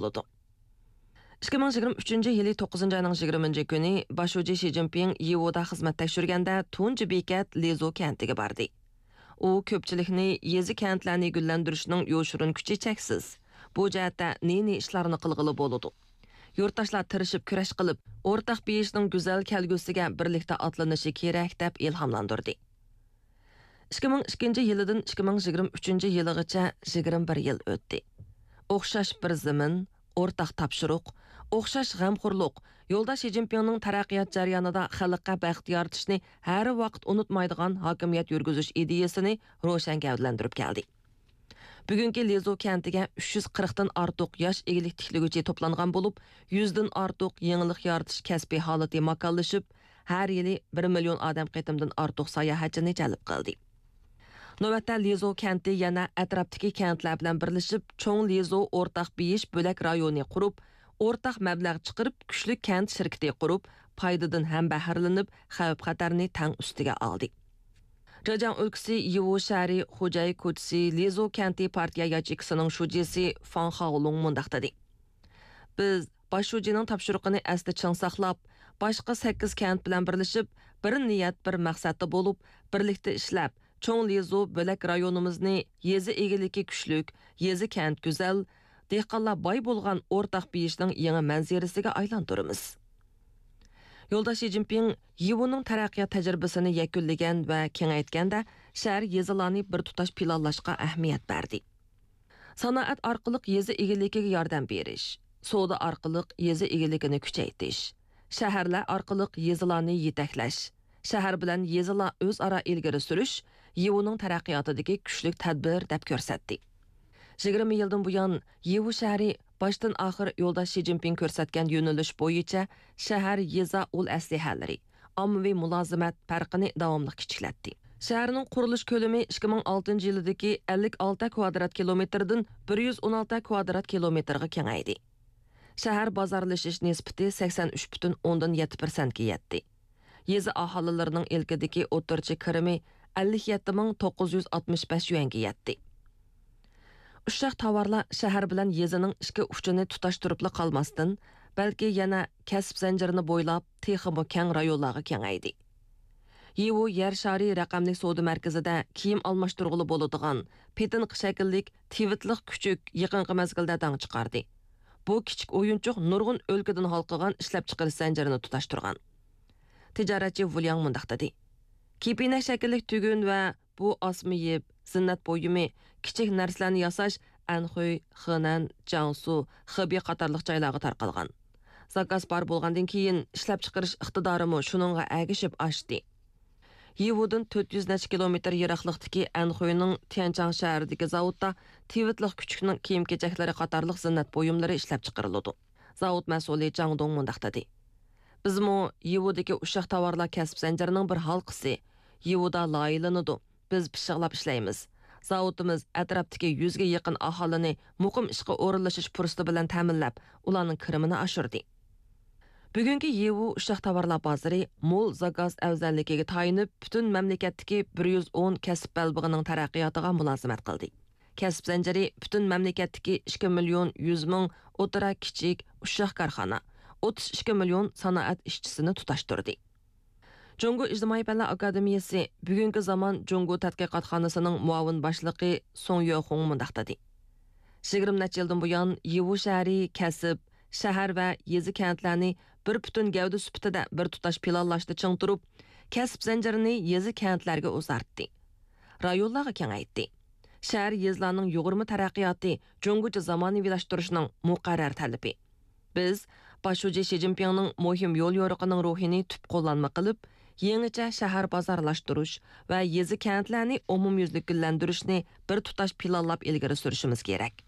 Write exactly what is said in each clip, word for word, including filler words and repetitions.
بولىدۇ. ئىككى مىڭ يىگىرمە ئۈچىنچى يىلى توققۇزىنچى ئاينىڭ يىگىرمە كۈنى باش شۇجى شى جىنپىڭ يىۋۇدا خىزمەت تەكشۈرگەندە تۇنجى بېكەت لىزۇ كەنتىگە باردى. ئۇ كۆپچىلىكنى يېزا كەنتلەرنى گۈللەندۈرۈشنىڭ يوشۇرۇن كۈچى چەكسىز. بۇ جەھەتتە نى-نى ئىشلارنى قىلغىلى بولىدۇ. يۇرتداشلار تىرىشىپ كۈرەش قىلىپ، ئورتاق بېيىشنىڭ گۈزەل كەلگۈسىگە بىرلىكتە ئاتلىنىشى كېرەك، دەپ ئىلھاملاندۇردى. ئىككى مىڭ ئىككىنچى يىلىدىن ئىككى مىڭ يىگىرمە ئۈچىنچى يىلىغىچە يىگىرمە بىر يىل ئۆتتى. ئوخشاش بىر زېمىن، ئورتاق تاپشۇرۇق، ئوخشاش غەمخورلۇق، يولداش شى جىنپىڭنىڭ تەرەققىيات جەريانىدا خەلققە بەخت يارىتىشنى ھەر ۋاقىت ئۇنتۇمايدىغان ھاكىمىيەت يۈرگۈزۈش ئىدىيەسىنى روشەن گەۋدىلەندۈرۈپ كەلدى. بۈگۈنكى لىزۇ كەنتىگە ئۈچ يۈز قىرىقتىن ئارتۇق ياش ئىگىلىك تىكلىگۈچى توپلانغان بولۇپ، يۈزدىن ئارتۇق يېڭىلىق يارىتىش كەسپىي ھالىتى ماكانلىشىپ، ھەر يىلى بىر مىليون ئادەم قېتىمدىن ئارتۇق ساياھەتچىنى جەلپ قىلدى. نۆۋەتتە لىزۇ كەنتى يەنە ئەتراپتىكى كەنتلەر بىلەن بىرلىشىپ، چوڭ لىزۇ ئورتاق بېيىش بۆلەك رايونى قۇرۇپ، ئورتاق مەبلەغ چىقىرىپ، كۈچلۈك كەنت شىركىتى قۇرۇپ، پايدىدىن ھەم بەھرىلىنىپ، خەۋپ-خەتەرنى تەڭ ئۈستىگە ئالدى. جېجياڭ ئۆلكىسى يىۋۇ شەھىرى خۇجەي كوچىسى لىزۇ كەنتى پارتىيە ياچېيكىسىنىڭ شۇجىسى فاڭ خاۋلۇڭ مۇنداق دېدى: بىز باش شۇجىنىڭ تاپشۇرۇقىنى ئەستە چىڭ ساقلاپ، باشقا سەككىز كەنت بىلەن بىرلىشىپ، بىر نىيەت، بىر مەقسەتتە بولۇپ، بىرلىكتە ئىشلەپ، چوڭ لىزۇ بۆلەك رايونىمىزنى يېزا ئىگىلىكى كۈچلۈك، يېزا كەنت گۈزەل، دېھقانلار باي بولغان ئورتاق بېيىشنىڭ يېڭى مەنزىرىسىگە ئايلاندۇرىمىز. يولداش شى جىنپىڭ يىۋۇنىڭ تەرەققىيات تەجرىبىسىنى يەكۈنلىگەن ۋە كېڭەيتكەندە، شەھەر، يېزىلارنى بىر تۇتاش پىلانلاشقا ئەھمىيەت بەردى. سانائەت ئارقىلىق يېزا ئىگىلىكىگە ياردەم بېرىش، سودا ئارقىلىق يېزا ئىگىلىكىنى كۈچەيتىش، شەھەرلەر ئارقىلىق يېزىلارنى يېتەكلەش، شەھەر بىلەن يېزىلار ئۆزئارا ئىلگىرى سۈرۈش يىۋۇنىڭ تەرەققىياتىدىكى كۈچلۈك تەدبىر، دەپ كۆرسەتتى. يىگىرمە يىلدىن بۇيان، يىۋۇ شەھىرى باشتىن ئاخىر يولداش شى جىنپىڭ كۆرسەتكەن يۆنىلىش بويىچە شەھەر، يېزا ئۇل ئەسلىھەلىرى، ئاممىۋى مۇلازىمەت پەرقىنى داۋاملىق كىچىكلەتتى. شەھەرنىڭ قۇرۇلۇش كۆلىمى ئىككى مىڭ ئالتىنچى يىلىدىكى ئەللىك ئالتە كۋادرات كىلومېتىردىن بىر يۈز ئون ئالتە كۋادرات كىلومېتىرغا كېڭەيدى. شەھەر بازارلىشىش نىسبىتى سەكسەن ئۈچ پۈتۈن ئوندىن يەتتە پىرسەنتكە يەتتى. يېزا ئاھالىلىرىنىڭ ئىلكىدىكى ئوتتۇرىچە كىرىمى ئەللىك يەتتە مىڭ توققۇز يۈز ئاتمىش بەش يۈەنگە يەتتى. ئۇششاق تاۋارلار شەھەر بىلەن يېزىنىڭ ئىچكى ئۇچىنى تۇتاشتۇرۇپلا قالماستىن، بەلكى يەنە كەسىپ زەنجىرىنى بويلاپ، تېخىمۇ كەڭ رايونلارغا كېڭەيدى. يىۋۇ يەر شارى رەقەملىك سودا مەركىزىدە كىيىم ئالماشتۇرغىلى بولىدىغان پېتىنقا شەكىللىك تىۋىتلىق كۈچۈك يېقىنقى مەزگىلدە داڭ چىقاردى. بۇ كىچىك ئويۇنچۇق نۇرغۇن ئۆلكىدىن ھالقىغان ئىشلەپچىقىرىش زەنجىرىنى تۇتاشتۇرغان. تىجارەتچى ۋۇلياڭ مۇنداق دېدى: كېپىنەك شەكىللىك تۈگۈن ۋە بۇ ئاسما يىپ، زىننەت بۇيۇمى، كىچىك نەرسىلەرنى ياساش ئەنخۇي، خېنەن، جياڭسۇ، خېبېي قاتارلىق جايلارغا تارقالغان. زاكاز بار بولغاندىن كېيىن، ئىشلەپچىقىرىش ئىقتىدارىمۇ شۇنىڭغا ئەگىشىپ ئاشتى. يىۋۇدىن تۆت يۈز نەچچە كىلومېتىر يىراقلىقتىكى ئەنخۇينىڭ تيەنچاڭ شەھىرىدىكى زاۋۇتتا تىۋىتلىق كۈچۈكنىڭ كىيىم-كېچەكلىرى قاتارلىق زىننەت بۇيۇملىرى ئىشلەپچىقىرىلىدۇ. زاۋۇت مەسئۇلى جاڭ دۇڭ مۇنداق دېدى: بىزمۇ يىۋۇدىكى ئۇششاق تاۋارلار كەسىپ زەنجىرىنىڭ بىر ھالقىسى. يىۋۇدا لايىھەلىنىدۇ. بىز پىششىقلاپ ئىشلەيمىز. زاۋۇتىمىز ئەتراپتىكى يۈزگە يېقىن ئاھالىنى مۇقىم ئىشقا ئورۇنلىشىش پۇرسىتى بىلەن تەمىنلەپ، ئۇلارنىڭ كىرىمىنى ئاشۇردى. بۈگۈنكى يىۋۇ ئۇششاق تاۋارلار بازىرى مول زاكاز ئەۋزەللىكىگە تايىنىپ، پۈتۈن مەملىكەتتىكى بىر يۈز ئون كەسىپ بەلبېغىنىڭ تەرەققىياتىغا مۇلازىمەت قىلدى. كەسىپ زەنجىرى پۈتۈن مەملىكەتتىكى ئىككى مىليون يۈز مىڭ ئوتتۇرا، كىچىك، ئۇششاق كارخانا، ئوتتۇز ئىككى مىليون سانائەت ئىشچىسىنى تۇتاشتۇردى. جۇڭگو ئىجتىمائىي پەنلەر ئاكادېمىيەسى بۈگۈنكى زامان جۇڭگو تەتقىقاتخانىسىنىڭ مۇئاۋىن باشلىقى سۇڭ يۆخۇڭ مۇنداق دېدى: يىگىرمە نەچچە يىلدىن بۇيان، يىۋۇ شەھىرى كەسىپ، شەھەر ۋە يېزا كەنتلەرنى بىر پۈتۈن گەۋدە سۈپىتىدە بىر تۇتاش پىلانلاشتا چىڭ تۇرۇپ، كەسىپ زەنجىرىنى يېزا كەنتلەرگە ئۇزارتتى، رايونلارغا كېڭەيتتى. شەھەر، يېزىلارنىڭ يۇغۇرما تەرەققىياتى جۇڭگوچە زامانىۋىلاشتۇرۇشنىڭ مۇقەررەر تەلىپى. بىز باش شۇجى شى جىنپىڭنىڭ مۇھىم يول يورۇقىنىڭ روھىنى تۈپ قوللانما قىلىپ، يېڭىچە شەھەر بازارلاشتۇرۇش ۋە يېزا كەنتلەرنى ئومۇميۈزلۈك گۈللەندۈرۈشنى بىر تۇتاش پىلانلاپ ئىلگىرى سۈرۈشىمىز كېرەك.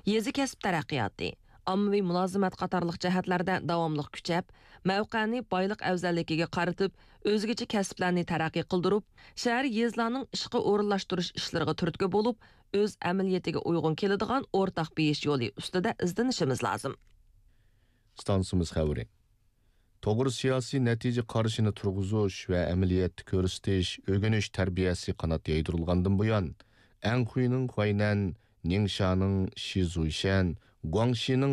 يېزا كەسىپ تەرەققىياتى، ئاممىۋى مۇلازىمەت قاتارلىق جەھەتلەردە داۋاملىق كۈچەپ، مەۋقەنى بايلىق ئەۋزەللىكىگە قارىتىپ، ئۆزگىچە كەسىپلەرنى تەرەققىي قىلدۇرۇپ، شەھەر، يېزىلارنىڭ ئىشقا ئورۇنلاشتۇرۇش ئىشلىرىغا تۈرتكە بولۇپ، ئۆز ئەمەلىيىتىگە ئۇيغۇن كېلىدىغان ئورتاق بېيىش يولى ئۈستىدە ئىزدىنىشىمىز لازىم. ئىستانسىمىز خەۋىرى. توغرا سىياسىي نەتىجە قارىشىنى تۇرغۇزۇش ۋە ئەمەلىيەتتە كۆرسىتىش، ئۆگىنىش تەربىيەسى قانات يايدۇرۇلغاندىن بۇيان، ئەنخۇينىڭ خۇەينەن، نىڭشانىڭ شىزۇيشەن، گۇاڭشىنىڭ